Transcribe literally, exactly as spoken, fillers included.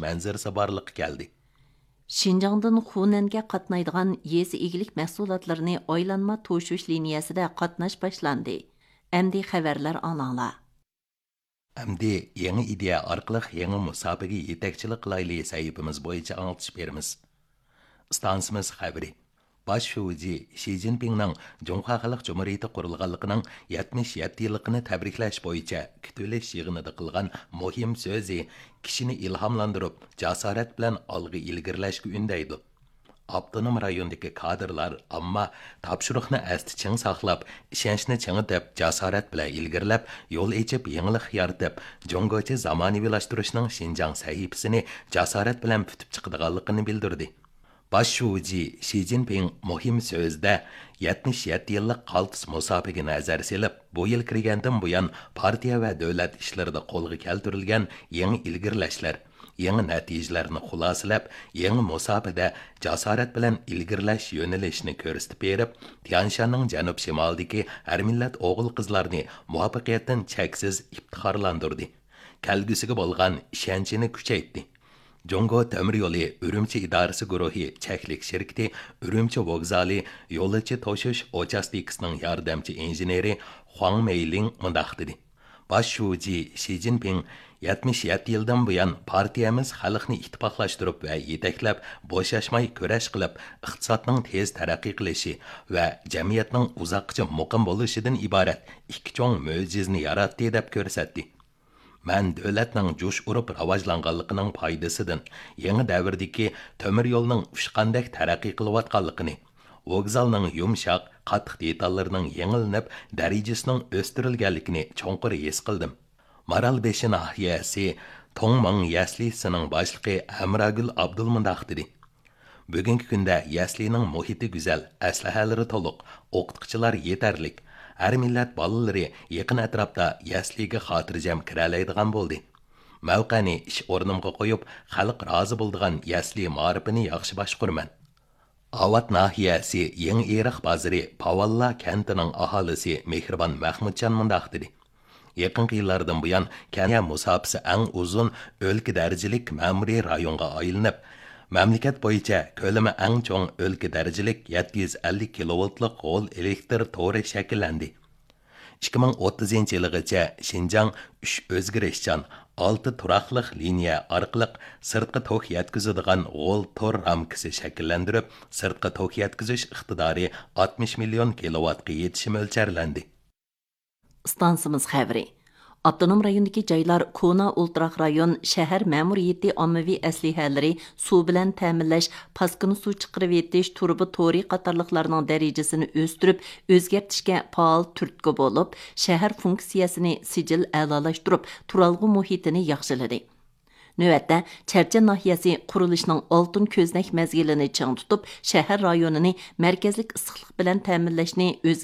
مەنزىرىسى بارلىققا كەلدى. شىنجاڭدىن خۇنەنگە قاتنايدىغان يېزا ئىگىلىك مەھسۇلاتلىرىنى ئايلانما توشۇش لىنىيەسىدە قاتناش باشلاندى. ئەمدى خەۋەرلەر ئاڭلاڭلار. ئەمدى يېڭى ئىدىيە ئارقىلىق يېڭى مۇساپىگە يېتەكچىلىك قىلايلى سەھىپىمىز بويىچە ئاڭلىتىش بېرىمىز. ئىستانسىمىز خەۋىرى. باش شۇجى شى جىنپىڭنىڭ جۇڭخۇا خەلق جۇمھۇرىيىتى قۇرۇلغانلىقىنىڭ يەتمىش يەتتە يىللىقىنى تەبرىكلەش بويىچە كۈتۈۋېلىش يىغىنىدا قىلغان مۇھىم سۆزى كىشىنى ئىلھاملاندۇرۇپ، جاسارەت بىلەن ئالغا ئىلگىرىلەشكە ئۈندەيدۇ. ئاپتونوم رايوندىكى كادىرلار، ئامما تاپشۇرۇقنى ئەستە چىڭ ساقلاپ، ئىشەنچنى چىڭىتىپ، جاسارەت بىلەن ئىلگىرىلەپ، يول ئېچىپ، يېڭىلىق يارىتىپ، جۇڭگوچە زامانىۋىلاشتۇرۇشنىڭ شىنجاڭ سەھىپىسىنى جاسارەت بىلەن پۈتۈپ چىقىدىغانلىقىنى بىلدۈردى. باش شۇجى شى جىنپىڭ مۇھىم سۆزىدە يەتمىش يەتتە يىللىق قالتىس مۇساپىگە نەزەر سېلىپ، بۇ يىل كىرگەندىن بۇيان پارتىيە ۋە دۆلەت ئىشلىرىدا قولغا كەلتۈرۈلگەن يېڭى ئىلگىرىلەشلەر، يېڭى نەتىجىلەرنى خۇلاسىلەپ، يېڭى مۇساپىدە جاسارەت بىلەن ئىلگىرىلەش يۆنىلىشىنى كۆرسىتىپ بېرىپ، تيەنشاننىڭ جەنۇب-شىمالىدىكى ھەر مىللەت ئوغۇل-قىزلارنى مۇۋەپپەقىيەتتىن چەكسىز ئىپتىخارلاندۇردى. كەلگۈسىگە بولغان ئىشەنچىنى كۈچەيتتى. جۇڭگو تۆمۈر يولى ئۈرۈمچى ئىدارىسى گۇرۇھى چەكلىك شىركىتى ئۈرۈمچى ۋوگزالى يولۇچى توشۇش ئوچاستىكىسىنىڭ ياردەمچى ئىنژېنېرى خۇاڭ مېيلىڭ مۇنداق دېدى: باش شۇجى شى جىنپىڭ يەتمىش يەتتە يىلدىن بۇيان پارتىيەمىز خەلقنى ئىتتىپاقلاشتۇرۇپ ۋە يېتەكلەپ، بوشاشماي كۈرەش قىلىپ، ئىقتىسادنىڭ تېز تەرەققىي قىلىشى ۋە جەمئىيەتنىڭ ئۇزاققىچە مۇقىم بولۇشىدىن ئىبارەت ئىككى چوڭ مۆجىزىنى ياراتتى، دەپ كۆرسەتتى. مەن دۆلەتنىڭ جۇش ئۇرۇپ راۋاجلانغانلىقىنىڭ پايدىسىدىن، يېڭى دەۋردىكى تۆمۈر يولنىڭ ئۇچقاندەك تەرەققىي قىلىۋاتقانلىقىنى، ۋوگزالنىڭ يۇمشاق، قاتتىق دېتاللىرىنىڭ يېڭىلىنىپ، دەرىجىسىنىڭ ئۆستۈرۈلگەنلىكىنى چوڭقۇر ھېس قىلدىم. مارالبېشى ناھىيەسى توڭمىڭ يەسلىسىنىڭ باشلىقى ھەمراگۈل ئابدۇل مۇنداق دېدى: بۈگۈنكى كۈندە يەسلىنىڭ مۇھىتى گۈزەل، ئەسلىھەلىرى تولۇق، ئوقۇتقۇچىلار يېتەرلىك. ھەر مىللەت بالىلىرى يېقىن ئەتراپتا يەسلىگە خاتىرجەم كىرەلەيدىغان بولدى. مەۋقەنى ئىش ئورنۇمغا قويۇپ، خەلق رازى بولىدىغان يەسلى مائارىپىنى ياخشى باشقۇرىمەن. ئاۋات ناھىيەسى يېڭى ئېرىق بازىرى پاۋاللا كەنتىنىڭ ئاھالىسى مېھرىبان مەخمۇتجان مۇنداق دېدى: يېقىنقى يىللاردىن بۇيان كەنتىمىز مۇساپىسى ئەڭ ئۇزۇن ئۆلكە دەرىجىلىك مەمۇرىي رايونغا ئايلىنىپ، مەملىكەت بويىچە كۆلىمى ئەڭ چوڭ ئۆلكە دەرىجىلىك يەتتە يۈز ئەللىك كىلوۋولتلۇق غول ئېلېكتر تورى شەكىللەندى. ئىككى مىڭ ئوتتۇزىنچى يىلىغىچە شىنجاڭ ئۈچ ئۆزگىرىشچان، ئالتە تۇراقلىق لىنىيە ئارقىلىق سىرتقا توك يەتكۈزىدىغان غول تور رامكىسى شەكىللەندۈرۈپ، سىرتقا توك يەتكۈزۈش ئىقتىدارى ئاتمىش مىليون كىلوۋاتقا يېتىشى مۆلچەرلەندى. ئىستانسىمىز خەۋىرى. ئاپتونوم رايوندىكى جايلار، كونا ئولتۇراق رايون، شەھەر مەمۇرىيىتى ئاممىۋى ئەسلىھەلىرى، سۇ بىلەن تەمىنلەش، پاسكىنا سۇ چىقىرىۋېتىش، تۇرۇبا تورى قاتارلىقلارنىڭ دەرىجىسىنى ئۆستۈرۈپ، ئۆزگەرتىشكە پائال تۈرتكە بولۇپ، شەھەر فۇنكسىيەسىنى سىجىل ئەلالاشتۇرۇپ، تۇرالغۇ مۇھىتىنى ياخشىلىدى. نۆۋەتتە، چەرچەن ناھىيەسى قۇرۇلۇشنىڭ ئالتۇن كۆزنەك مەزگىلىنى چىڭ تۇتۇپ، شەھەر رايونىنى مەركەزلىك ئىسسىقلىق بىلەن تەمىنلەشنى ئۆزگە